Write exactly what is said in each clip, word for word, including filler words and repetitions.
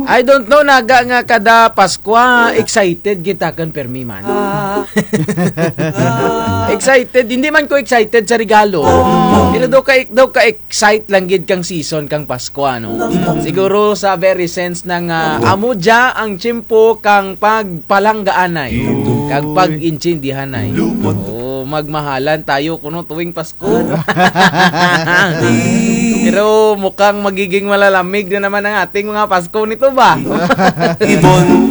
I don't know, naga nga kada Paskwa, excited gid takun pirmi man. Excited, hindi man ko excited sa regalo. Pero daw ka, daw ka excite lang gid kang season kang Paskwa, no? Siguro sa very sense nga amo dya ang tiyempo kang pagpalanggaanay, kag pag-intindihanay. Oh, magmahalan tayo kuno tuwing Pasko. Pero mukhang magiging malalamig na naman ang ating mga Pasko nito ba?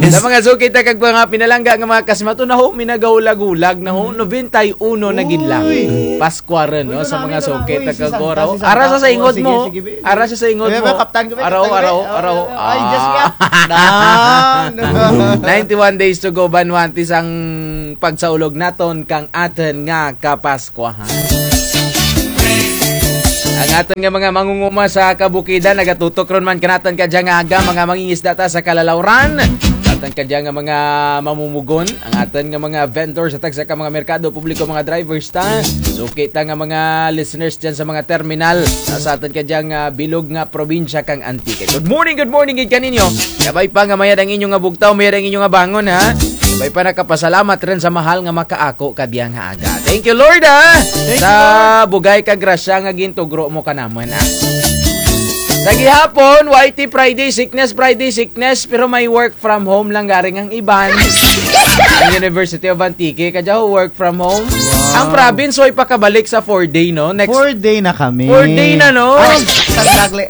Sa mga suki ta kag mga pinalangga nga mga kasimaton, na ho, minagahulag-hulag na ho, nobenta y uno na gid lang. Pasko run, no? Sa mga suki ta kag Goraw. Ara sa saingot mo. Ara sa saingot mo. Araw, araw, araw. Ay, just nga. Ninety-one days to go, Banwantis, ang pagsaulog naton kang atun nga Kapas- Kwahan. Ang atun nga mga mangunguma sa kabukidan, nagatutok run man kanatun kadya nga aga, mga mangingisda ta sa kalalawran. Sa atun kadya nga mga mamumugon, ang atun nga mga vendor sa tagsa ka mga merkado publiko, mga drivers ta. Suki ta nga mga listeners dyan sa mga terminal, sa, sa atun kadya nga bilog nga probinsya kang Antique. Good morning, good morning gid kaninyo. Kabay pa nga mayad ang inyo nga bugtaw, mayad ang inyo nga bangon, ha? Kabay pa nakapasalamat run sa mahal nga makaako kadya nga aga. Thank you, Lord, ha? Sa bugay ka grasya nga gintugro mo kanamun, ha? Sa gihapon, Y T Friday, sickness Friday, sickness, pero may work from home lang garing ang iban. Ang University of Antique, kadya ho, work from home. Ang province, way pakabalik sa four day, no? Next four day na kami. Four day na, no? Ay, sandagli.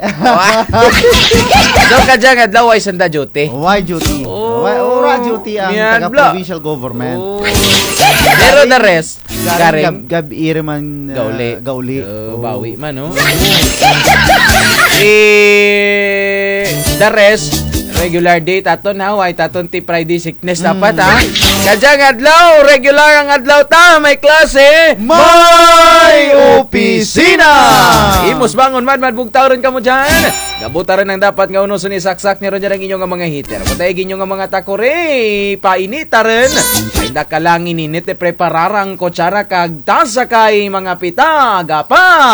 Daw kadya nga adlaw, way sanda duty. Way duty. Oh, way, wara duty ang taga-provincial government. Oh. Pero the rest, garing gab-, gab-i run man, ah, gauli. Gauli. Oh, bawi man, no? Eh, the rest, regular day taton, ha? Way taton ti Friday sickness dapat, ha? Kadya nga adlaw, regular ang adlaw ta, may klase, may opisina! Imos bangon, madmad, bugtaw run kamo dyan. Gabuta run ang dapat nga unuson, isaksak nyo run dyan ang inyo nga mga heater. Patay inyo nga mga takuri, painita run. Ay, nakalang ininit, ipreparar ang kutsara kag tasa kay mga pita, gapa.